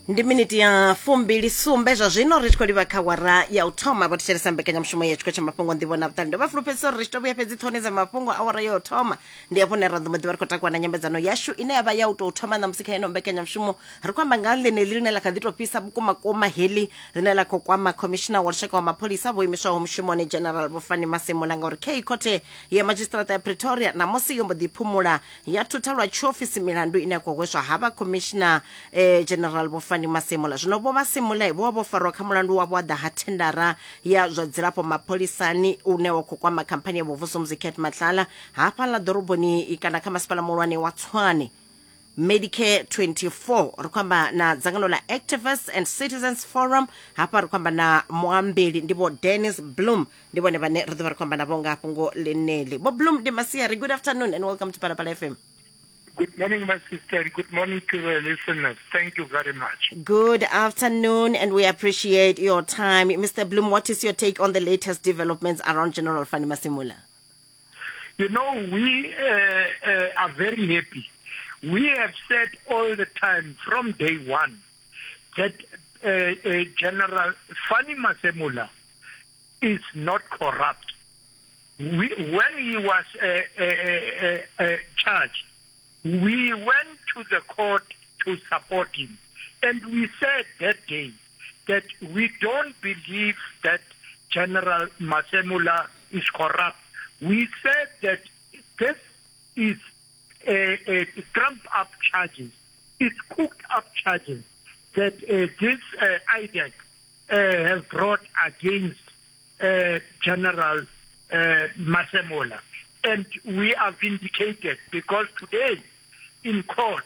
Ndi miniti ya 27 zwa zwino ri tshi khou livha kha wara ya u thoma. Vho thetshelesa mbekanyamushumo ya tshiko tsha mafhungo nḓivho na vhuṱali. Ndo vha fulufhedzisa uri ri tshi to vhuya fhedzi ṱhoni dza mafhungo awara ya u thoma ndi hafho hune ra ḓo mbo ḓi vha ri khou takuwa na nyambedzano yashu ine ya vha ya u tou thoma ṋamusi kha ino mbekanyamushumo. Ri khou amba nga ḽeneḽi ḽine ḽa kha ḓi tou fhisa vhukumakuma, heḽi ḽine ḽa khou kwama khomishina wa lushaka wa mapholisa vho imiswaho mushumoni General Vho Fannie Masemola, ngauri kha khothe ya madzhisiṱiraṱa ya Pretoria ṋamusi yo mbo ḓi phumula ya thutha lwa tshiofisi milandu ine ya khou hweswa havha khomishina General Vho Fannie Masemola. Zwino Vho Masemola vho vha vho farwa kha mulandu wa vhuaḓa ha thendara ya zwa dzilafho mapholisani une wa khou kwama khamphani ya Vhuvusumuzi Cat Matlala hafhaḽa ḓoroboni kana kha masipala muhulwane wa Tshwane. Medicare 24 ri khou amba na dzangano ḽa Activists and Citizens Forum, hafha ri khou amba na muambeli ndi Vho Dennis Bloem, ndi vhone vhane ri ḓo vha ri khou amba navho nga fhungo ḽeneḽi. Vho Bloem, ndi masiari, good afternoon and welcome to Phalaphala FM. Good morning, my sister. Good morning to the listeners. Thank you very much. Good afternoon, and we appreciate your time. Mr. Bloem, what is your take on the latest developments around General Fannie Masemola? You know, we are very happy. We have said all the time from day one that General Fannie Masemola is not corrupt. When he was charged, we went to the court to support him. And we said that day that we don't believe that General Masemola is corrupt. We said that this is a trumped-up charges. It's cooked-up charges that this IDAC has brought against General Masemola. And we are vindicated because today in court,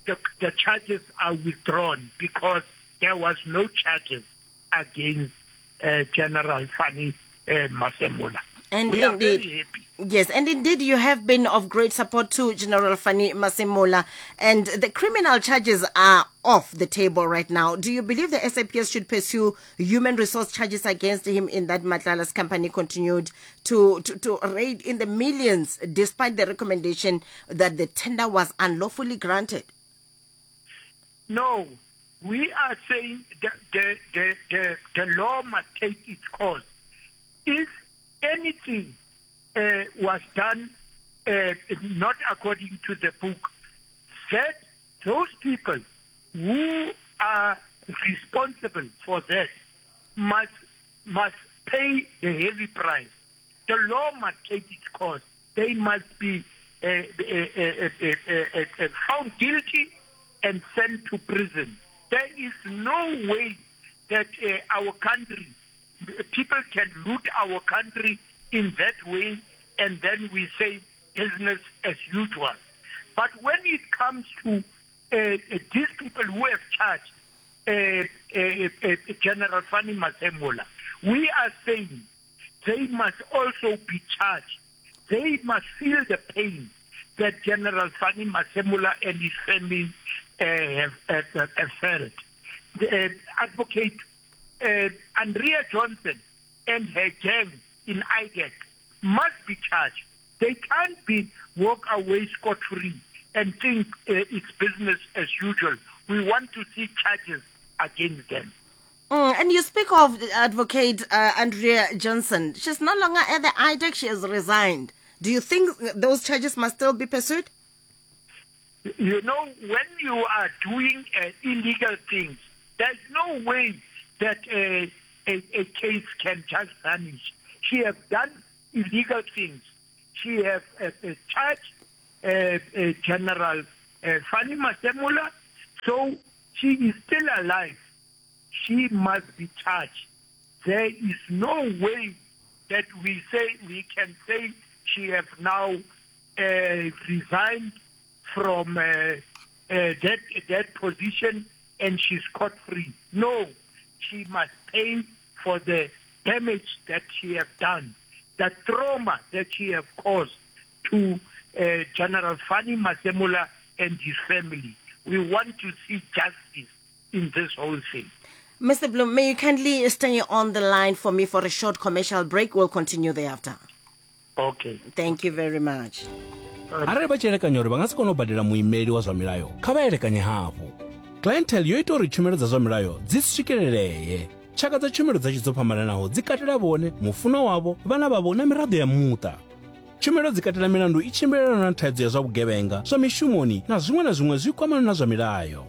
the charges are withdrawn because there was no charges against General Fannie Masemola. And we are indeed, very happy. Yes, and indeed you have been of great support to General Fannie Masemola, and the criminal charges are off the table right now. Do you believe the SAPS should pursue human resource charges against him in that Matlala's company continued to raid in the millions despite the recommendation that the tender was unlawfully granted? No, we are saying that the law must take its course. If anything was done not according to the book, that those people who are responsible for that must pay the heavy price. The law must take its course. They must be found guilty and sent to prison. There is no way that our country, people can loot our country in that way, and then we say business as usual. But when it comes to these people who have charged General Fannie Masemola, we are saying they must also be charged. They must feel the pain that General Fannie Masemola and his family have felt. The advocate Andrea Johnson and her gang in IDAC must be charged. They can't be walk away scot-free and think it's business as usual. We want to see charges against them. And you speak of Advocate Andrea Johnson. She's no longer at the IDAC. She has resigned. Do you think those charges must still be pursued? You know, when you are doing illegal things, there's no way that a case can just vanish. She has done illegal things. She has charged General Fannie Masemola, so she is still alive. She must be charged. There is no way that we can say she has now resigned from that position and she's caught free. No, she must pay for the damage that she has done, the trauma that she has caused to General Fannie Masemola and his family. We want to see justice in this whole thing. Mr. Bloem, may you kindly stay on the line for me for a short commercial break? We'll continue thereafter. Okay. Thank you very much. Arali vha tshi elekanya uri vha nga si kone u badela muimeli wa zwa milayo, kha vha elekanye hafhu. Clientele yo ita uri tshumelo dza zwa milayo dzi swikelelee. Tshaka dza tshumelo dzashu dzo fhambananaho dzi katela vhone, mufunwa wavho, vhana vhavho na miraḓo ya muṱa. Tshumelo dzi katela milandu i tshimbilelanaho na thaidzo ya zwa vhugevhenga, zwa mishumoni na zwiṅwe na zwiṅwe zwi kwamanaho na zwa milayo.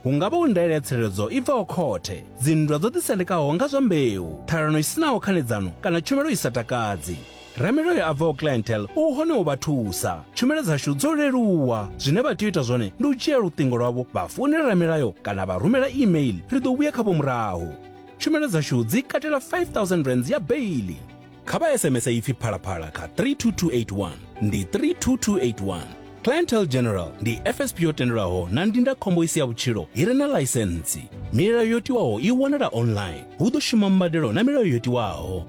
Hu nga vha hu ndaela ya tsireledzo i bvaho khothe, dzinndwa dzo ḓisendekaho nga zwa mbeu, ṱhalano i si naho khanedzano kana tshumelo i sa takadzi. Ramilayo a bvaho Clientele u hone u vha thusa. Tshumelo dzashu dzo leluwa. Zwine vha tea u ita zwone ndi u dzhia luṱingo lwavho vha founela ramilayo kana vha rumela email, ri ḓo vhuya khavho murahu. Tshumelo dzashu dzi katela R5000 ya beiḽi. Kha vha SMS ipfi Phalaphala kha 32281. Ndi 32281. Clientele General ndi FSP yo tendelwaho na ndindakhombo i si ya vhutshilo i re na ḽaisentsi. Milayo yo tiwaho i wanala online. Hu ḓo shuma mbadelo na milayo yo tiwaho.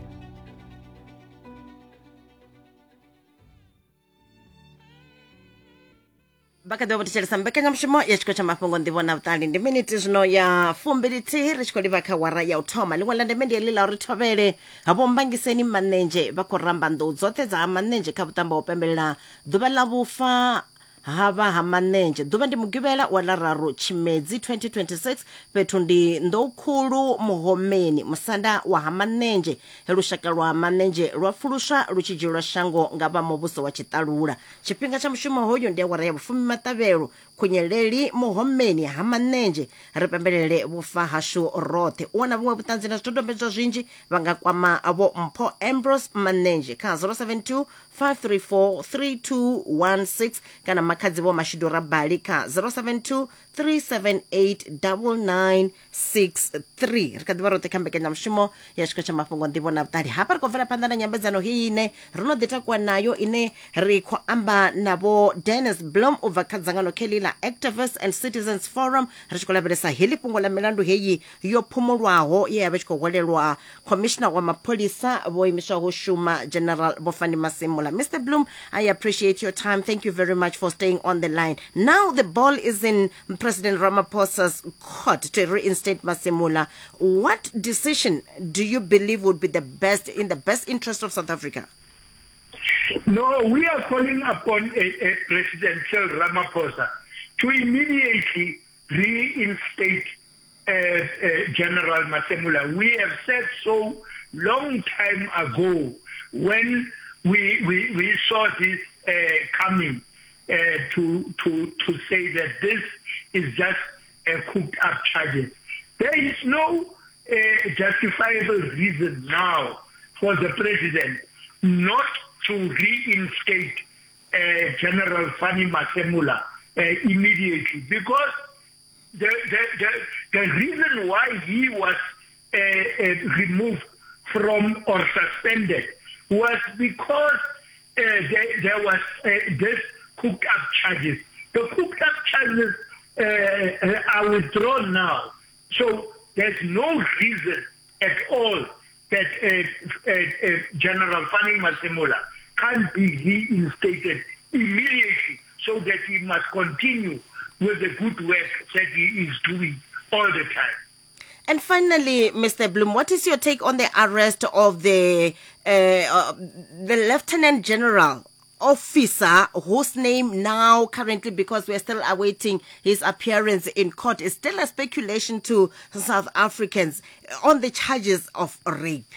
Vha kha ḓi vha vho thetshelesa mbekanyamushumo ya tshiko tsha mafhungo nḓivho na vhuṱali. Ndi miniti zwino ya fumbilithihi ri tshi khou livha kha wara ya u thoma. Ḽiṅwe ḽa ndeme ndi heḽi ḽa uri thovhele vho Mbangiseni Manenzhe vha khou ramba nḓou dzoṱhe dza ha Manenzhe kha vhuṱambo ha u pembelela ḓuvha ḽa vhufa ha vha ha Manenzhe. Ḓuvha ndi Mugivhela wa ḽa raru Tshimedzi 2026, fhethu ndi Nḓoukhulu Muhomeni, musanda wa ha Manenzhe, he lushaka lwa Manenzhe lwa pfuluswa lu tshi dzhielwa shango nga vha muvhuso wa tshiṱalula. Tshifhinga tsha mushumo hoyu ndi awara ya vhufumi maṱavhelo. Khunyeleli Muhomeni ha Manenzhe, ri pembelele vhufa hashu roṱhe. U wana vhuṅwe vhuṱanzi na zwidodombedzwa zwinzhi vha nga kwama Vho Mpho Ambrose Manenzhe kha 072 534 3216 kana Makhadzi Vho Mashudu Rabali kha 072 378 9963. Ri kha ḓivha roṱhe kha mbekanyamushumo ya tshiko tsha mafhungo nḓivho na vhuṱali. Hafha ri khou bvela phanḓa na nyambedzano heyi ine ro no ḓi takuwa nayo, ine ri khou amba na Vho Dennis Blom u bva kha dzangano kheḽi ḽa Activists and Citizens Forum, ri tshi khou lavhelesa heḽi fhungo ḽa milandu heyi yo phumulwaho ye ya vha tshi khou hwalelwa Commissioner wa mapholisa vho imiswaho shuma General Vho Fannie Masemola. Mr Bloom, I appreciate your time. Thank you very much for staying on the line. Now the ball is in President Ramaphosa's court to reinstate Masemola. What decision do you believe would be the best, in the best interest of South Africa? No, we are calling upon a President Cyril Ramaphosa to immediately reinstate General Masemola. We have said so long time ago when we, we, we saw this coming to, to, to say that this is just a cooked up charges. There is no justifiable reason now for the president not to reinstate General Fannie Masemola immediately, because the, the, the, the reason why he was removed from or suspended was because there, there was this cooked up charges. The cooked up charges are withdrawn now. So there's no reason at all that General Fannie Masemola can't be reinstated immediately, so that he must continue with the good work that he is doing all the time. And finally, Mr. Bloom, what is your take on the arrest of the Lieutenant General officer, whose name now currently, because we're still awaiting his appearance in court, is still a speculation to South Africans, on the charges of rape?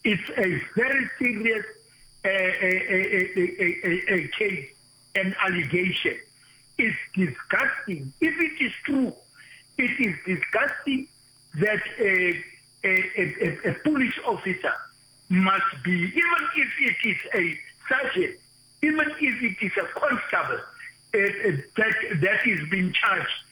It's a very serious a case and allegation. It's disgusting. If it is true, it is disgusting that a police officer must be, even if it is a sergeant, even if it is a constable, that, that is being charged